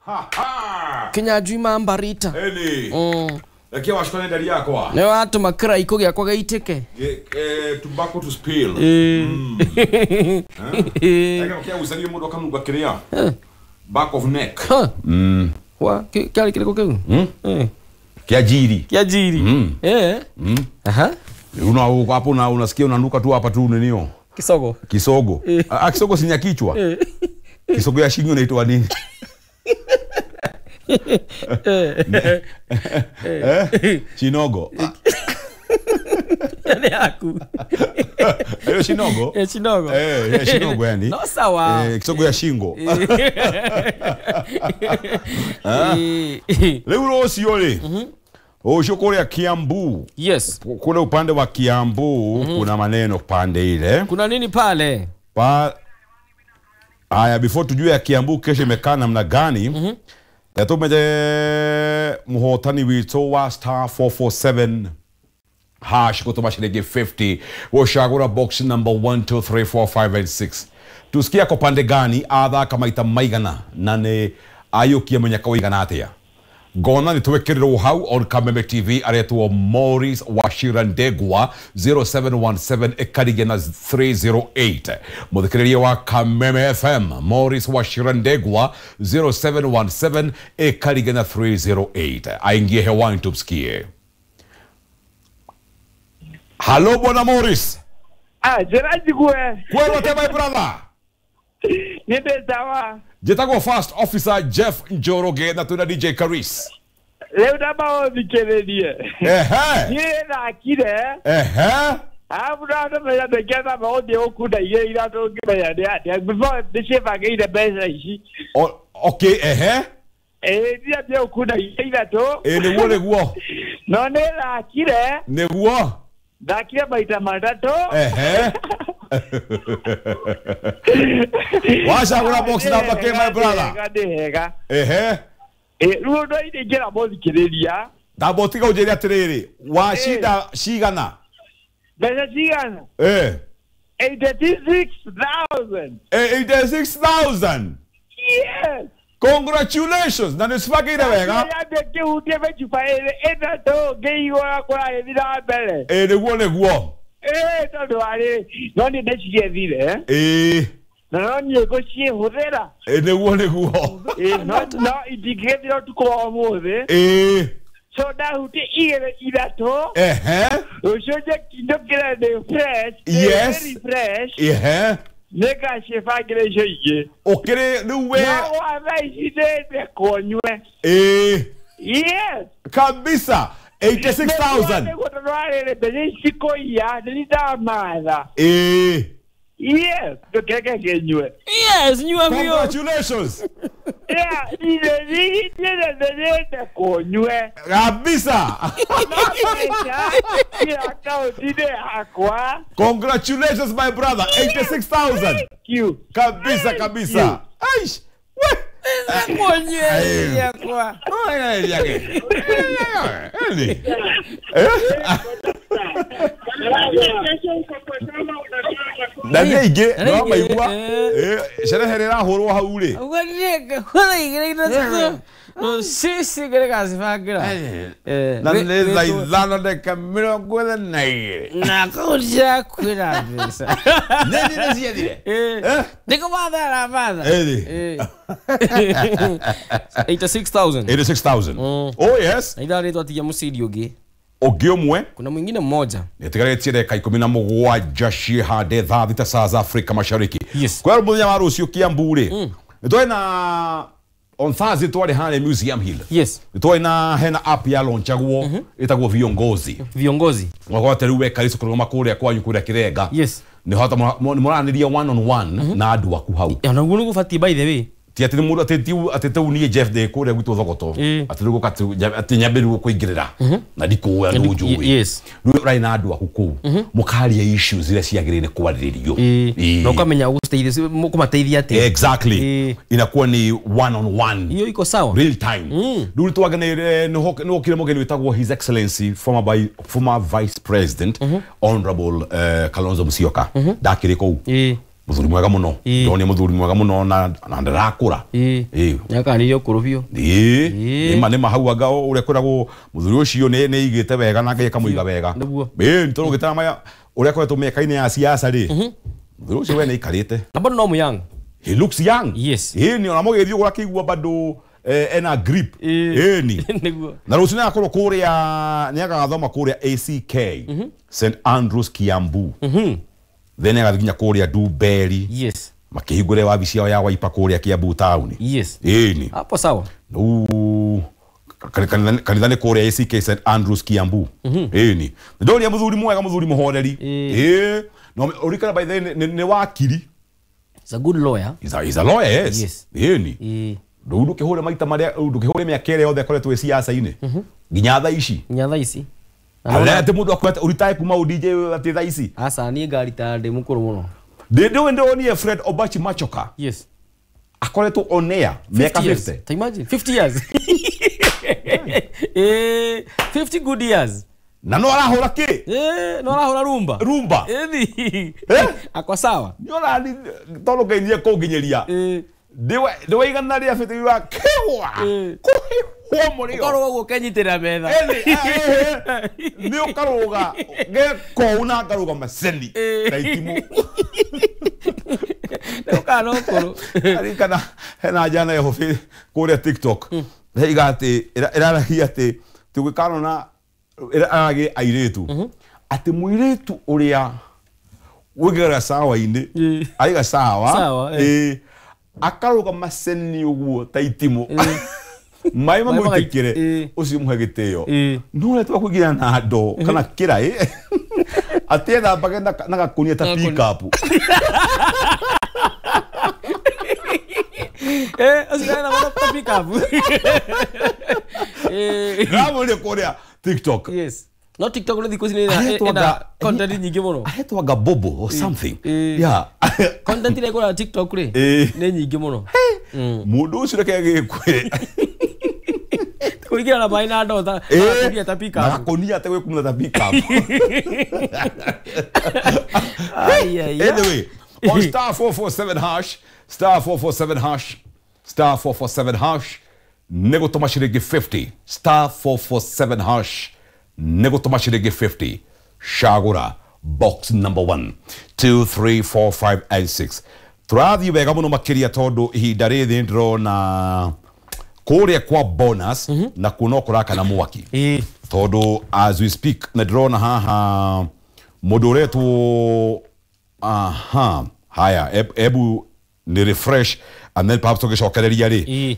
Ha ha. Kinyanjui mambarita. Eni. Lakini washikane ndari yakwa. Nĩ watũma kĩraikũ gĩakwa gĩitĩke. Tobacco to spill. Ega kia uzarie mundu akanunga kiria. Back of neck. Wa kĩarĩ kĩrĩkũ kĩu? Kia jiri. Kia jiri. Aha. Una hapo na unasikia unanuka tu hapa tu ninio. Kisogo. Kisogo. Ah, kisogo si kichwa. Kisogo ya shingo inaitwa nini? Chinogo. Ni yaku. Hiyo shinogo? Chinogo. Shinogo yani. No sawa. Kisogo ya shingo. Leo rũciũ rĩ. Ũcio kũrĩa Kiambu. Yes. Kule upande wa Kiambu kuna maneno pande ile. Kuna nini pale? Aya, before tujue ya Kiambu kesho imekaa namna gani. Tumeje muhotani witũ wa star 447 hash kutuma shilingi 50 woshagura box number 1 2 3 4 5 and 6. Tusikia kwa pande gani athaka maita maigana na nĩ ayũkie mũnyaka ũigana atĩa. Gona nĩ hau on Kameme TV aretwo Maurice Wachira Ndegwa 0717 ekarigia na 308. Mũthikĩrĩria wa Kameme FM Maurice Wachira Ndegwa 0717 ekarigia na 308. Aingie hewani tumsikie. Hello Bwana Maurice. Ah, Gerard Gwe. Kwero te my brother. Nende sawa. Jetagwo First Officer Jeff Njoroge na tuna DJ Karis. Leo ndaba othikĩrĩrie. Ehe. Niĩ thakire. Ehe. Alafu ndamenya ndĩkĩenda maũndũ gũkunda igĩrĩ ithatũ ngĩmenya nĩ atĩa before ndĩcibangĩire mbeca ici. Okay, ehe. Ndiambia gũkunda igĩrĩ ithatũ. Nĩguo nĩguo. No nĩ thakire. Nĩguo. Thakire maita matatũ. Ehe. Wachagura box number K, my brother. Ehe. Rĩu ndo ingĩra mũthikĩrĩria. Ndamba ũtiga ũnjĩre atĩrĩrĩ, wacinda cigana? Mbeca cigana? 86,000. 86,000. Yes. Congratulations. Na nĩcibangĩire wega. Nyambie ngĩhutie mĩcuba ĩrĩ ĩtatũ ngĩigua kũragĩthiĩ na mbere. Nĩguo nĩguo. Tondũ warĩ no niĩ ndĩciethire. Na no niĩ ngũciĩhũthĩra. Nĩguo nĩguo. No itingĩgĩthira ũtukũ wa ũmũthĩ. So ndahutia igĩrĩ ithatũ. Ehe. Rũciũ njũkĩre ndĩ fresh. Yes. Very fresh. Ehe. Nĩngacibangĩra icio ingĩ. Ũkĩrĩ rĩu we. No wa thaa ici ndĩndekwo nyue. Yes. Kabisa. 86,000. Nĩguo tondũ warĩrĩ mbeca ici kũiya nĩ ndamatha. Yes, ndũkeke ngĩnyue. Yes, nyua biũ. Congratulations. Yeah, ndĩndekwo nyue. Kabisa. No mbeca ci akaunti-inĩ yakwa. Congratulations my brother. 86,000. Thank you. Kabisa kabisa. Aish. We. Yakwa. Na nĩ aingĩ no maigua sherehe rĩrahũrwo hau rĩ. Sisi kĩrĩgacibangĩra. Na nĩ thaa ithano ndagĩka mĩrongo ĩna na igĩrĩ. Na akaunti yaku ĩna mbeca. Nĩ nĩ ciethire. Nĩkũmatha aramatha. 86,000. 86,000. Oh yes. Na ithaa rĩ twatigia mũcindi ũngĩ. Ũngĩ ũmwe. Kuna mwingine mmoja. Nĩtigarĩtie ndagĩka 17 ciĩhande thaa thita saa za Afrika Mashariki. Yes. Kwa mũthenya wa rũciũ Kiambu rĩ. Nĩtwarĩ na on Thursday twarĩ harĩa Museum Hill. Yes. Nĩtwarĩ na hena app ya launchagwo ĩtagwo Viongozi. Viongozi. Mwakwa rĩu weka rĩcu kũrũgama kũrĩa kwanyu kũrĩa Kĩrenga. Yes. Nĩ hota mũranĩria one on one na andũ aku hau. Ona ũguo nĩguo ũbatiĩ by the way. Ti atĩ mũndũ atĩ atĩ niĩ Jeff ndĩ kũrĩa gwitũ Thogoto. Atĩ rĩu atĩ nyambe rĩu kũingĩrĩra. Na ndikũĩ andũ njũĩ. Yes. Rĩu ũrarĩ na andũ aku kũu. Mũkaria issues iria ciagĩrĩire kwarĩrĩrio. Na ũkamenya ũgũciteithia kũmateithia atĩa. Exactly. Inakuwa ni one on one. Hiyo iko sawa. Real time. Rĩu twaganĩire nĩhokire mũgeni wĩtagwo His Excellency former Vice President Honorable Kalonzo Musyoka. Ndakĩrĩ kũu. Muthuri mwega muno. Ndonire muthuri mwega muno na ndarakura. Nyakanire ukuru biu. Nima hau anga uria kwiragwo muthuri ucio ni igite wega na Ngai akamuiga wega. Nitũrũgĩtana maya uria akoretwo mĩaka-inĩ ya siasa ri. Muthuri ucio we nĩaikarĩte. Na bado no young. He looks young. Yes. Ni ona mũgĩthiĩ ũguo akĩigua bado ena grip. Ni. Na rũciũ nĩagakorwo kũrĩa nĩagathoma kũrĩa ACK St Andrews Kiambu. Then agathiĩ nginya kũrĩa Dumberi. Yes. Makĩhingũre wabici yao ya Wiper kũrĩa Kiambu town. Yes. Ni. Hapo sawa. Kanitha nĩ kũrĩa ACK St Andrews Kiambu. Ni. Ndoria muthuri mwega muthuri muhoreri. No urikana by the nĩ wakiri. He's a good lawyer. He's a lawyer, yes. Yes. Ni. Ndũkĩhũre maita marĩa ndũkĩhũre mĩaka ĩrĩa yothe akoretwo ĩ siasa-inĩ. Nginya thaa ici. Nginya thaa ici. Arĩa atĩ mũndũ akwete ũritae kuma DJ atĩ thaa ici. Aca niĩ ngarita ndĩ mũkũrũ mũno. Ndĩũĩ ndĩronire Fred Obachi Machoka. Yes. Akoretwo on air mĩaka 50. Ta imagine 50 years. 50 good years. Na no arahũra kĩ? No arahũra rumba. Rumba. Akwa sawa. Nĩ ũrani tondũ Ngai nĩekũnginyĩria. Ndĩwaigana rĩa 50 wa kĩwa. Kũhĩhwo mũrĩo. Ũkarũga ũguo ũkenyitĩrĩra metha. Nĩ ũkarũga gekou na ngarũga maceni na itimũ. Nĩ ũkana ũkũrũ. Aririkana hena njana ĩho kũrĩa TikTok. Ĩraiga atĩ ĩraragia atĩ tũgĩkanona ĩraragia airĩtu. Atĩ mũirĩtu ũrĩa wĩigagĩra sawa-inĩ aiga sawa akarũga maceni ũguo ta itimũ. Maĩ mamũitĩkĩre ũcio mũhe gĩtĩo. No ũrĩa twakũingĩra na ndoo kana kĩraĩ atĩ ethambage na gakũnia ta pick-up. Ũcio ethambage ta pick-up. Ndĩramwĩrire kũrĩa TikTok. Yes. No TikTok no thikũ ici nĩ content nyingĩ mũno. Ahetwaga Bobo or something. Yeah. Content ĩrĩa ĩkũraga TikTok rĩ nĩ nyingĩ mũno. Mũndũ ũcio reke agĩkwĩre. Kũringana na maĩ na ndoo ta gakũnia ta pick-up. Na gakũnia atĩ gwĩkumutha ta pick-up. Anyway, on star 447 hash, star 447 hash, star 447 hash, nĩ gũtũma ciringi 50, star 447 hash, nĩ gũtũma ciringi 50, cagũra box number 1, 2, 3, 4, 5 and 6. Tũrathiĩ wega mũno makĩria tondũ ihinda rĩrĩ ndĩrona kũrĩa kwa bonus na kuo no kũrakana mwaki. Tondũ as we speak na ndĩrona haha mũndũ ũretwo aha haya ebu ni refresh and then perhaps tũgĩcokereria rĩ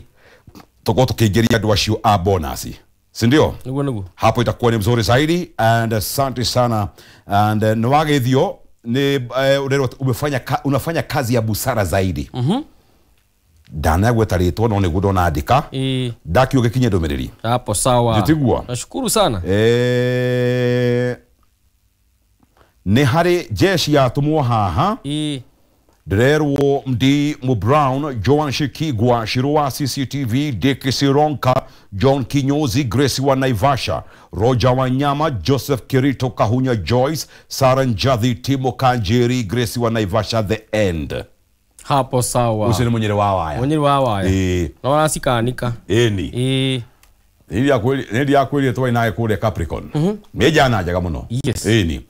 tũkorwo tũkĩingĩria andũ acio a bonus, si ndio? Niguo. Hapo itakuwa ni mzuri zaidi and asante sana and nĩwagĩthio ni umefanya kazi ya busara zaidi. Ndanagweta rĩtwa no nĩguo ndonandĩka. Ndakiuga gĩkinye ndũmĩrĩri. Hapo sawa. Njĩtigua. Nashukuru sana. Nĩ harĩ jeshi yatũmwo haha. Ndĩrerwo Md Brown, Joan Shikigwa, Shirua CCTV, Dick Sironka, John Kinyozi, Grace wa Naivasha, Roger Wanyama, Joseph Kirito Kahunya, Joyce, Sarah Njathi, Timo Kanjeri, Grace wa Naivasha, the end. Hapo sawa. Ũcio nĩ mũnyĩrĩ wa waya. Mũnyĩrĩ wa waya. Na waracikanika. Ĩni. Nĩ ndiakwĩrire twarĩ nawe kũrĩa Capricorn. Nĩ njana njega mũno. Yes. Ĩni.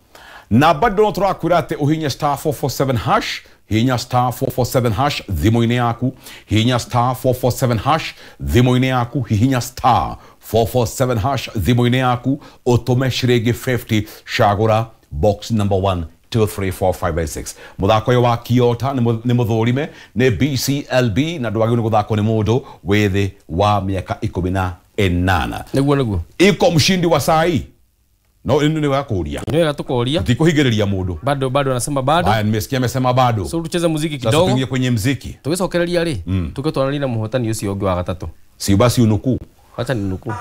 Na bado no tũrakwĩra atĩ ũhinye star 447 hash, hinya star 447 hash thimũ-inĩ yaku, hinya star 447 hash thimũ-inĩ yaku, hihinya star 447 hash thimũ-inĩ yaku, ũtũme ciringi 50, cagũra box number 1, 2, 3, 4, 5 and 6. Mũthako ũyũ wa Kiota nĩ mũthũrime nĩ BCLB na ndwagĩrĩirwo nĩ gũthakwo nĩ mũndũ wĩ thĩ wa mĩaka 18. Nĩguo. Iko mshindi wa saa hii. No ĩno nĩ wakũria. Nĩ wega tũkoria. Tikũhingĩrĩria mũndũ. Bado anasema bado. Haya nimesikia amesema bado. So tucheze muziki kidogo. Sasa tuingie kwenye muziki. Tũgĩcokereria rĩ, tũke twananie na mũhotani ũcio ũngĩ wa gatatũ. Si basi unukuu. Wacha ninukuu.